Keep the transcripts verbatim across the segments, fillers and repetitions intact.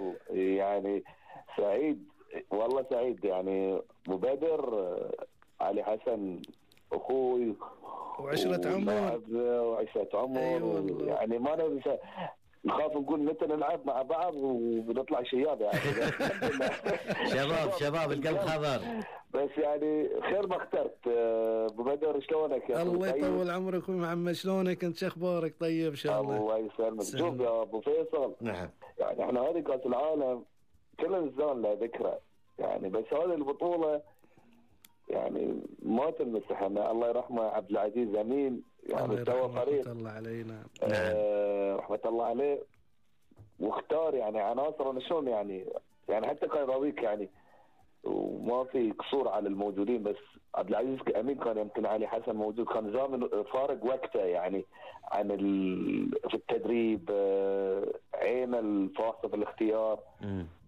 فيصل يعني سعيد والله سعيد يعني ابو بدر علي حسن اخوي وعشرة عمر وعشرة عمر. أيوة يعني ما ننسى نخاف نقول متى نلعب مع بعض ونطلع شياب يعني. شباب شباب القلب خضر. بس يعني خير ما اخترت. ابو بدر شلونك يا الله يطول عمرك اخوي محمد، شلونك انت؟ شخبارك طيب ان شاء الله؟ الله يسلمك. شوف يا ابو فيصل، نعم يعني احنا هذه كاس العالم كل الزمن له ذكرى يعني، بس هذه البطوله يعني ما تنمسح. الله يرحمه عبد العزيز امين يعني سوى فريق رحمة الله علينا آه رحمه الله عليه، واختار يعني عناصر شلون يعني يعني حتى كان راضيك يعني، وما في قصور على الموجودين، بس عبد العزيز امين كان يمكن علي حسن موجود، كان زامن فارق وقته يعني عن في التدريب، عين الفاصل في الاختيار،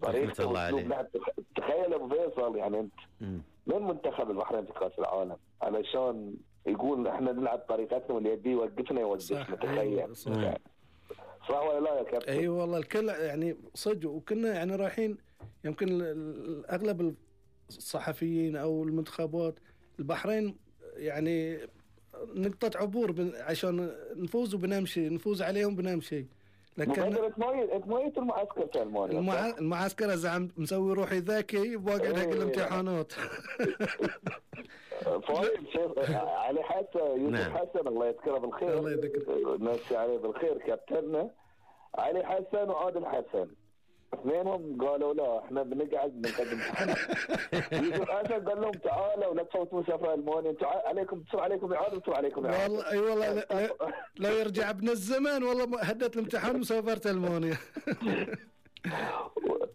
طريقه الله عليه. تخيل ابو فيصل يعني انت مم. من منتخب البحرين في كاس العالم علشان يقول احنا نلعب طريقتنا واللي يبي يوقفنا يوقفنا. تخيل صح. يعني صح ولا لا يا كابتن؟ اي أيوة والله الكل يعني صدق، وكنا يعني رايحين يمكن اغلب الصحفيين او المنتخبات البحرين يعني نقطة عبور عشان نفوز وبنمشي، نفوز عليهم بنمشي. لكن انت ما جيت المعسكر في المانيا؟ المع... المعسكر زعم مسوي روحي ذكي باقي حق الامتحانات. فايد شيخ علي حسن يوسف حسن الله يذكره بالخير، الله يذكره نمسي عليه بالخير، كابتننا علي حسن وعادل حسن اثنينهم قالوا لا احنا بنقعد بنقدم امتحانات. يوسف حسن قال لهم تعالوا لا تفوتوا سفر المانيا، انتم عليكم تصير عليكم اعاده وتصير عليكم اعاده. والله اي والله لو يرجع ابن الزمان والله هدت الامتحان وسافرت المانيا.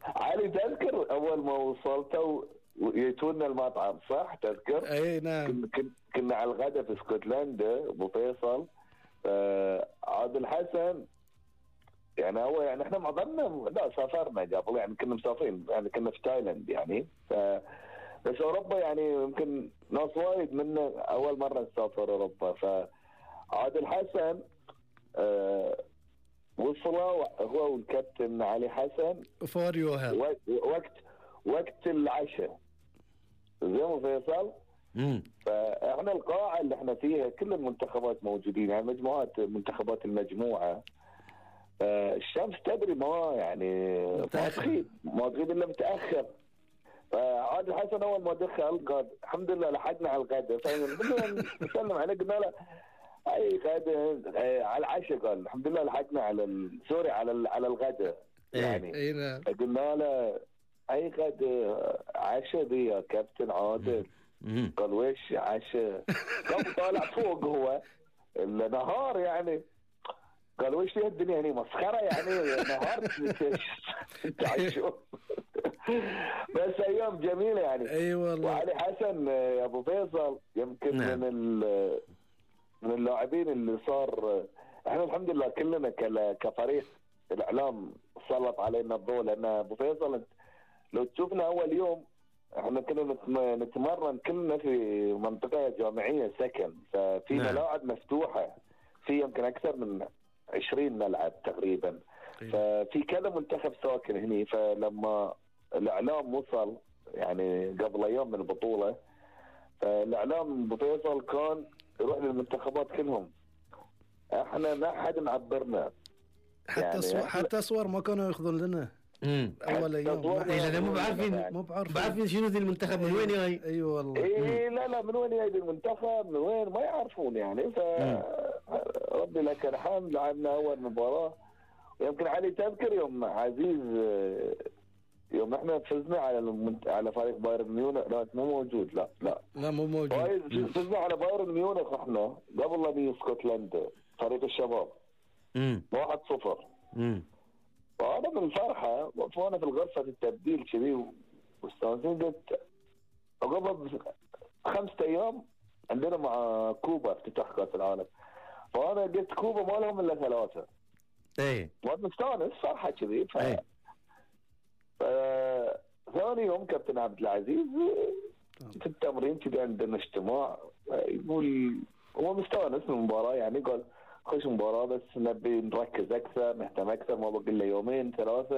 علي تذكر اول ما وصلتوا يجونا المطعم صح تذكر؟ اي نعم. كنا على الغداء في اسكتلندا ابو فيصل. آه عادل حسن يعني هو يعني احنا معظمنا لا سافرنا قبل يعني كنا مسافرين يعني كنا في تايلاند يعني ف بس اوروبا يعني يمكن ناس وايد منا اول مره نسافر اوروبا. فعادل حسن آه وصلوا هو والكابتن علي حسن فوريو وقت وقت العشاء زي ما فيصل. امم فاحنا القاعه اللي احنا فيها كل المنتخبات موجودين يعني مجموعات منتخبات المجموعه. آه الشمس تدري ما يعني ما تغيب ما تغيب الا متاخر. فعادل حسن اول ما دخل قال الحمد لله لحقنا على الغداء، فنسلم عليه قلنا له اي غداء آه على العشاء، قال الحمد لله لحقنا على سوري على على الغداء يعني. ايه قلنا له اي غداء عشاء دي يا كابتن عادل؟ قال ويش عشاء؟ قام طالع فوق هو النهار يعني، قال ويش لي الدنيا يعني مسخره يعني نهار تعيشوا. بس ايام جميله يعني. اي والله. وعلي حسن يا ابو فيصل يمكن نعم. من من اللاعبين اللي صار احنا الحمد لله كلنا كفريق الاعلام سلط علينا الضوء، لان ابو فيصل لو تشوفنا اول يوم احنا كنا نتمرن كلنا في منطقه جامعيه سكن، ففي نعم. ملاعب مفتوحه في يمكن اكثر من عشرين ملعب تقريبا. ففي كذا منتخب ساكن هني، فلما الاعلام وصل يعني قبل ايام من البطوله، فالاعلام بفيصل كان يروح للمنتخبات كلهم، احنا ما حد معبرنا حتى يعني صور حتى صور ما كانوا ياخذون لنا امم اول يوم. اي لا مو بعارفين يعني. مو بعارفين بعرفين شنو ذي المنتخب من وين جاي. اي أيوة والله. اي لا لا من وين جاي المنتخب من وين ما يعرفون يعني. ف ربي لك الحمد لعبنا اول مباراه. ويمكن علي تذكر يوم عزيز يوم احنا فزنا على المنت... على فريق بايرن ميونخ. لا مو موجود. لا لا لا مو موجود. فزنا على بايرن ميونخ احنا قبل لا نيجي اسكتلندا فريق الشباب امم واحد صفر. امم فانا من الفرحه وانا في الغرفه التبديل كذي واستانسين، قلت قبل خمسة ايام عندنا مع كوبا افتتاح كاس العالم، فانا قلت كوبا ما لهم الا ثلاثه. ايه وانا مستانس فرحه كذي. ف ايه ف ثاني يوم كابتن عبد العزيز في التمرين كذا عندنا اجتماع، يقول هو مستانس من المباراه يعني، قال خش مباراه بس نبي نركز اكثر نهتم اكثر، ما بقي الا يومين ثلاثه